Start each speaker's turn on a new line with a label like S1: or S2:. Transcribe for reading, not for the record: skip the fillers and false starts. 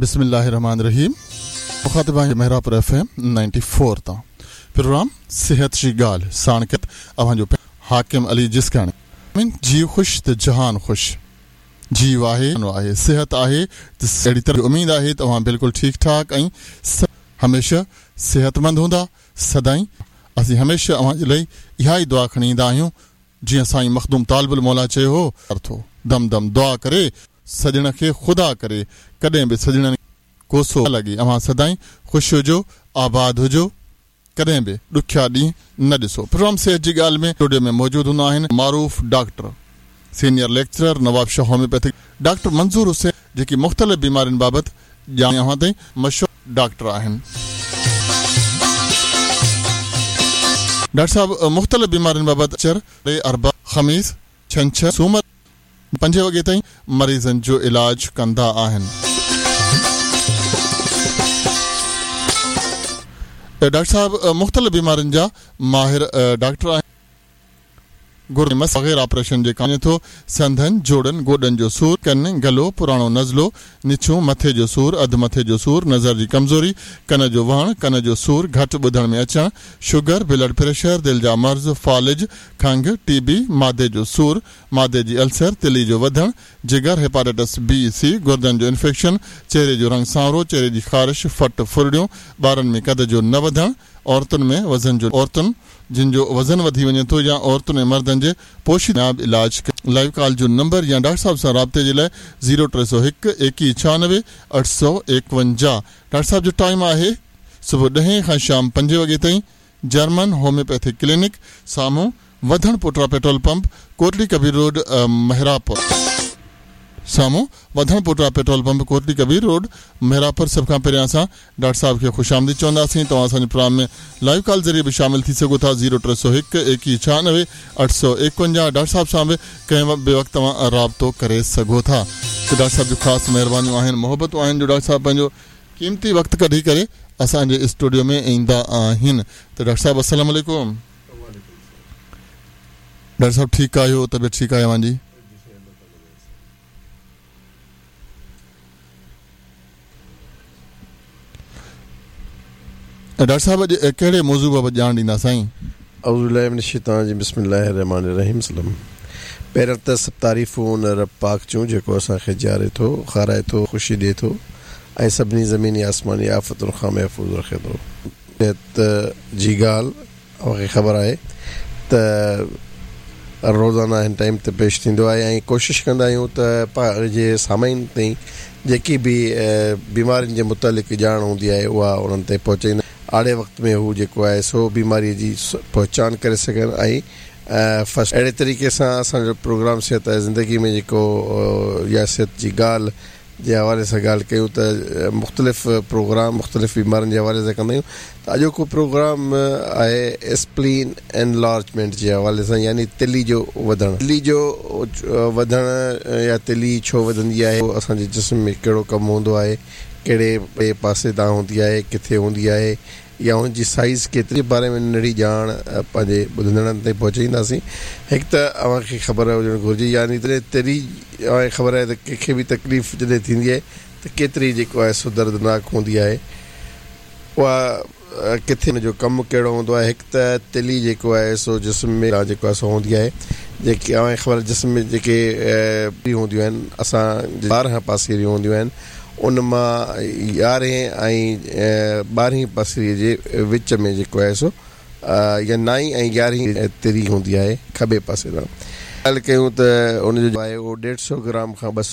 S1: بسم الله الرحمٰن الرحيم مخاطب آهيان محرابپور ايف ايم 94 تان پروگرام صحت جي ڳالهه ساڻ ڪت اوهان جو حاڪم علي جسڪاڻي جيء خوش ته جهان خوش جيء آهي آهي صحت آهي ته اهڙي طرح اميد آهي ته اوهان بلڪل ٺيڪ ٺاڪ ۽ هميشه صحتمند هوندا سدائين اسين هميشه اوهان جي لئي اها ئي دعا کڻي ايندا آهيون جيئن سائين مخدوم طالب الموليٰ چيو هو. ٿو دم دم دعا ڪري سڄڻ کي خدا ڪري ڪڏهن به سڄڻن ڪوسو نه لڳي اوهان سدائين خوش هجو آباد هجو ڪڏهن به ڏکيا ڏينهن نه ڏسو پروگرام صحت جي ڳالهه ۾ اسٽوڊيو ۾ موجود هوندا آهن معروف doctor senior lecturer Nawabshah homeopathic doctor Manzoor Hussain جيڪي مختلف بيمارين بابت ڄاڻ اوهان تائين مشهور ڊاڪٽر آهن. ڊاڪٽر صاحب مختلف بيمارين بابت چر، اربع، خميس، ڇنڇر، سومر پنجين وڳي تائين مريضن جو علاج ڪندا آهن. ڊاڪٽر صاحب مختلف بيمارين جا ماهر ڊاڪٽر آهن. گردي مس بغير آپريشن جي ڪانه ٿو، سنڌن، جوڙن، گوڏن جو سور، ڪن، گلو، پراڻو نزلو، نڇون، مٿي جو سور، اڌ مٿي جو سور، نظر جي ڪمزوري، ڪن جو وهڻ، ڪن جو سور، گهٽ ٻڌڻ ۾ اچڻ، شگر، بلڊ پريشر، دل جا مرض، فالج، کنگهه، ٽي بي، معدي جو سور، معدي جي السر، تلي جو وڌڻ، جگر، هيپاٽائٽس بي، سي، گردن جو انفيڪشن، چهري جو رنگ سانورو، چهري جي خارش، ڦٽ، ڦرڙيون، ٻارن ۾ قد جو نه وڌڻ، عورتن ۾ وزن جو عورتن جن جو وزن وڌي وڃي ٿو يا عورتن ۽ مردن جي پوشيده به علاج لائيو ڪال جو نمبر يا ڊاڪٽر صاحب سان رابطي جي لاء زيرو 301 21 96 851 ڊاڪٽر صاحب جو ٽائيم آهي صبح ڏهين کان شام پنجين وڳي تائين جرمن هوميوپيٿڪ ڪلينڪ سامهون وڌڻ پوٽرا پيٽرول پمپ ڪوٽڙي ڪبير روڊ محرابپور. سامهون وڌڻ پوٽرا پيٽرول پمپ ڪوٽڙي ڪبير روڊ محرابپور سڀ کان پهريان اسان ڊاڪٽر صاحب کي خوش آمديد چونداسين توهان اسان جي پروگرام ۾ لائيو ڪال ذريعي به شامل ٿي سگهو ٿا زيرو 301 21 96 851 ڊاڪٽر صاحب سان به ڪنهن به وقت توهان رابطو ڪري سگهو ٿا ته ڊاڪٽر صاحب جون خاص مهربانيون آهن محبتون آهن جو ڊاڪٽر صاحب پنهنجو قيمتي وقت ڪڍي ڪري اسان جي اسٽوڊيو ۾ ايندا آهن ته ڊاڪٽر صاحب السلام عليڪم. ڊاڪٽر صاحب ٺيڪ آهيو طبيعت ٺيڪ آهي اوهان جي؟ ڊاڪٽر صاحب اڄ ڪهڙي موضوع بابت ڄاڻ ڏيندا سائين؟
S2: اعوذ بالله من الشيطان الرجيم بسم الله الرحمٰن الرحيم سلام پهريان ته سڀ تعريفون ان رب پاڪ جون جيڪو اسان کي جياري ٿو کارائي ٿو خوشي ڏي ٿو ۽ سڀني زميني آسماني آفتن کان محفوظ رکي ٿو. صحت جي ڳالهه اوهان کي خبر آهي ته روزانه هن ٽائيم تي پيش ٿيندو آهي ۽ ڪوشش ڪندا آهيون ته پنهنجي سامعين تائين جيڪي به بيمارين جي متعلق ڄاڻ هوندي آهي اها انهن تائين پهچائيندا آڙي وقت ۾ هو جيڪو آهي سو بيماري جي پهچان ڪري سگهن ۽ فرسٽ اهڙي طريقي سان اسان جو پروگرام صحت آهي زندگي ۾ جيڪو يا صحت جي ڳالهه جي حوالي سان ڳالهه ڪيون ته مختلف پروگرام مختلف بيمارين جي حوالي سان ڪندا آهيون ته اڄوڪو پروگرام آهي اسپلين انلارجمينٽ جي حوالي سان يعني تلي جو وڌڻ تلي جو وڌڻ يا تلي ڇو وڌندي آهي اسان جي جسم ۾ ڪهڙو ڪم هوندو آهي ڪهڙي پاسي تان هوندي آهي ڪٿي هوندي آهي يا ان جي سائيز ڪيتري باري ۾ ننڍڙي ڄاڻ پنهنجي ٻڌندڙن تائين پهچائينداسين. هڪ ته اوهان کي خبر هجڻ گهرجي يعني ته تري اوهان کي خبر آهي ته ڪنهن کي به تڪليف جڏهن ٿيندي آهي ته ڪيتري جيڪو آهي سو دردناڪ هوندي آهي اها ڪٿي ان جو ڪم ڪهڙو هوندو آهي هڪ ته تلي جيڪو آهي سو جسم ۾ جيڪو آهي سو هوندي آهي جيڪي اوهان کي خبر جسم ۾ جيڪي هونديون آهن اسان 12 پاسيريون هونديون آهن ان مان يارهين ۽ ٻارهين پسريء جي وچ ۾ جيڪو آهي سو يا نائين ۽ يارهين تري هوندي آهي کٻي پاسي ڏانهن. ڳالهه ڪيون ته ان جو آهي اهو ڏيڍ سئو گرام کان 200.